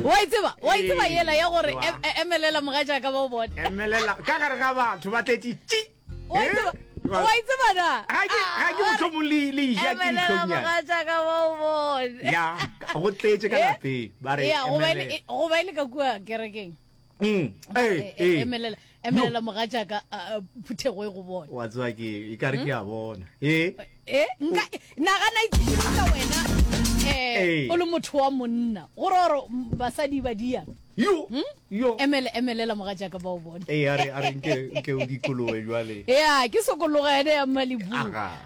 Wa e tseba, wa e tseba yela ya gore emelela mogatšaka ba o bone. Emelela ka gare ga batho ba tletše tši. Wa e tseba, wa e tseba na? Ga ke ga ke mohlomong le le ja ke Emelela dihlongnyana. mogatšaka ba o bone. Ya, go tletše ka lapeng ba re Ya, goba e le emelela. goba e le ka kua kerekeng. Mm, ee, ee. Emelela, emelela mogatšaka phuthego e go bone. Wa tseba ke e ka re ke a bona. Ee. E, nka nagana itshidisa wena eh o le motho wa monna gore gore basadi ba dia. Yo. Hmm? Yo. Emele emelela mogatšaka ba o bone. Ee, a re a re nke nke o dikoloe jwale. Ya, ke sokologa ene ya Malibu.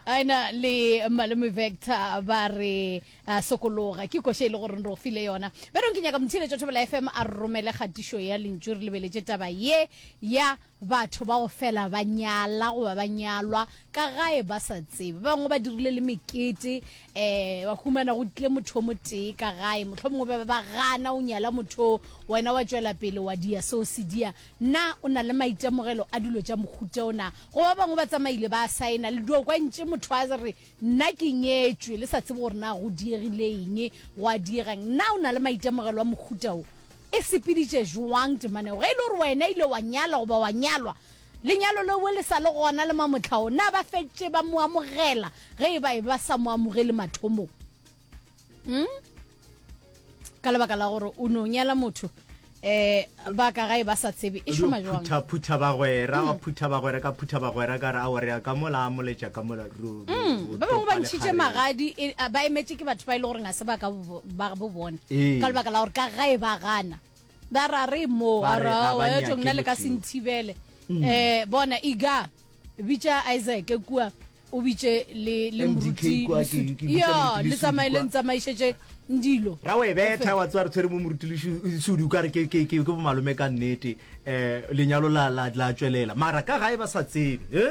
Aina le Malome Vector ba re A sokologa. Ke koša e le gore re go file yona. Bjalo ke nyaka motheeletši wa Thobela FM a re romele kgatišo ya lentšu re lebeletše taba ye ya batho ba go fela ba nyala goba ba nyalwa ka gae ba sa tsebe. Ba bangwe ba dirile le mekete um ba humana go tlile motho o motee ka gae, mohlomongwe ba be ba gana o nyala motho o, wena wa tšwela pele wa dia seo se dia. Na o na le maitemogelo a dilo tša mohuta o na? Goba ba bangwe ba tsamaile ba saena le dio kwa ntše motho a re Nna ke nyetšwe, le sa tsebe gore na go diegile eng, gwa diega eng. Na o na le maitemogelo a mohuta wo? E sepeditše jwang temana yeo? Ge e le gore wena ile wa nyala goba wa nyalwa, lenyalo leo le sa le gona le mamohla wo, na ba fetše ba mo amogela ge e ba e ba sa mo amogele mathomong? Hmm? Ka lebaka la gore o no nyala motho eh ba ka gae ba sa tsebe e šoma jwang? Phutha phutha bagwera, wa phutha bagwera ka phutha bagwera ka re a re ka mola a moletša ka mola ru. Mm, ba bangwe ba ntšhitše magadi e, ba emetše ke batho ba e le gore ga se ba ka ba bo bona ka lebaka la gore ka gae ba gana ba ra re mo a Ba re ra ga ba wa nyake nna le ka motho se yo. nthibele eh bona iga bitša Isaac kua o bitše le le MDK moruti kwa, ke- Lesodi. ke bitša Ya, moruti le Lesodi tsamaye le kwa. ntsamaišetše dilo ra o e betha wa tseba re tshwere mo moruti Lesodi o kare ke ke ke ke bomalome ka nnete um lenyalo la la la tšwelela mara ka gae ba sa tsebe e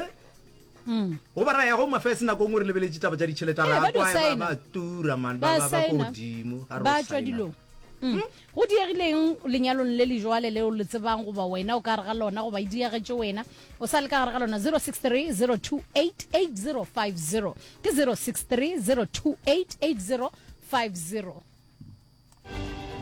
goba ra ya go mafes nako nngwe re lebeletše taba tša ditšhelete Eh, ra ba dio kwa ba signa. ba tura man ba Ba ba ba ko signa. godimo ga re ba o tšwa signa. dilong Mm. Go diegileng lenyalong le le jwale leo le tsebang goba wena o ka gare ga lona goba e diegetše wena o sa le ka gare ga lona 063 028 8050 ke 063 028 8050.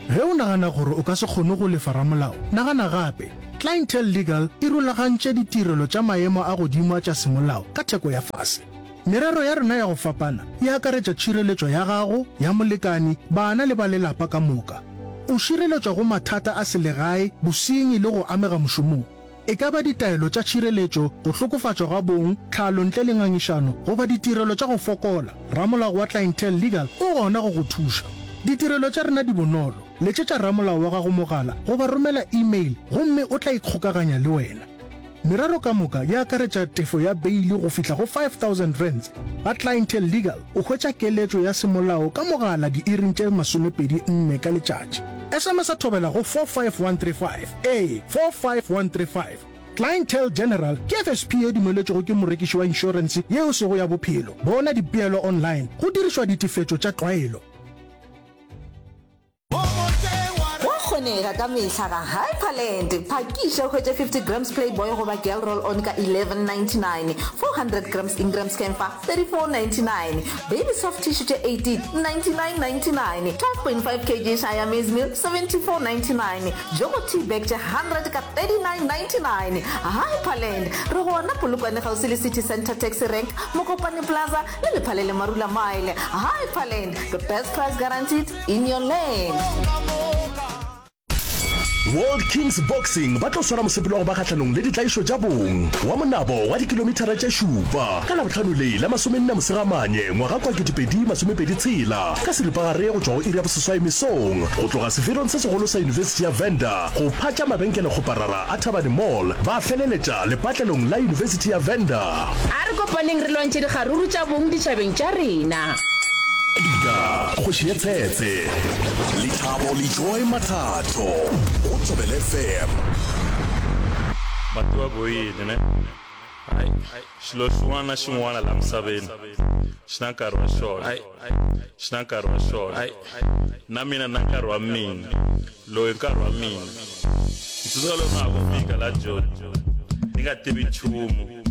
Ge o nagana gore o ka se kgone go lefa ramolao, nagana gape. Clientele Legal e rulagantše ditirelo tša maemo a godimo a tša semolao ka theko ya fase. Merero ya rena ya go fapana e akaretša tšhireletšo ya gago, ya molekani, bana le ba lelapa ka moka. O šireletšwa go mathata a selegae, bosenyi le go amega mošomong. E ka ba ditaelo tša tšhireletšo, go hlokofatšwa ga bong, tlhalo ntle le ngangišano goba ditirelo tša go fokola, ramolao wa Clientele Legal o gona go go thuša. Ditirelo tša rena di bonolo, letšetša ramolao wa gago mogala goba romela email gomme o tla ikgokaganya le wena. Merero ka moka e akaretša tefo ya beili go fihla go R5000. Ga Clientele Legal o hwetša keletšo ya semolao ka mogala diiring tše 24 ka letšatši. SMS-a thobela go 45135, ee, 45135. Clientele General ke FSP ye dumeletšwego ke morekiši wa inšorense ye e sego ya bophelo. Bona dipeelo online go dirišwa ditefetšo tša tlwaelo. Go a kgonega ka mehla ga Hyperland. Phakiša o hwetše 50 grams Playboy goba Girl Roll On ka 11.99, 400 grams Ingram's Camphor 34.99, Baby Soft Tissue tše 18 99.99, 12.5 kg Shire Maize Meal 74.99, Jogo Tea Bag tše 100 ka 39.99. Hyperland, re gona Polokwane kgauswi le City Centre Taxi Rank, Mokopane Plaza le Lephalele Marula Mile. Hyperland, the best price guaranteed. In your land. World Kings Boxing ba tlo swara mosepelo wa go ba kgahlanong le ditlaišo tša bong wa monabo wa dikilomithara tše šupa ka Labohlano le la masomenne Mosegamanye ngwaga kwa 2026 ka seripagare go tšwa go iri ya boseswai mesong go tloga seferong se segolo sa Yunibesithi ya Venda go phatša mabenkelekgoparara a Thabane Mall ba feleletša lepatlelong la Yunibesithi ya Venda. A re kopaneng re lwantšhe dikgaruru tša bong ditšhabeng tša rena. Edgar, kgoši ya Tshetse, Lethabo le Joy Mathatho go Thobela FM. Mati wa boyini ne? Ai, xilo xin'wana na xin'wana laha misaveni xi na nkarhi wa xona. Xi na nkarhi wa xona. Na mina ni na nkarhi wa mina. Loyi i nkarhi wa mina. Ni tsundzuka loko na ha ku fika laha Joni, ni nga tivi nchumu.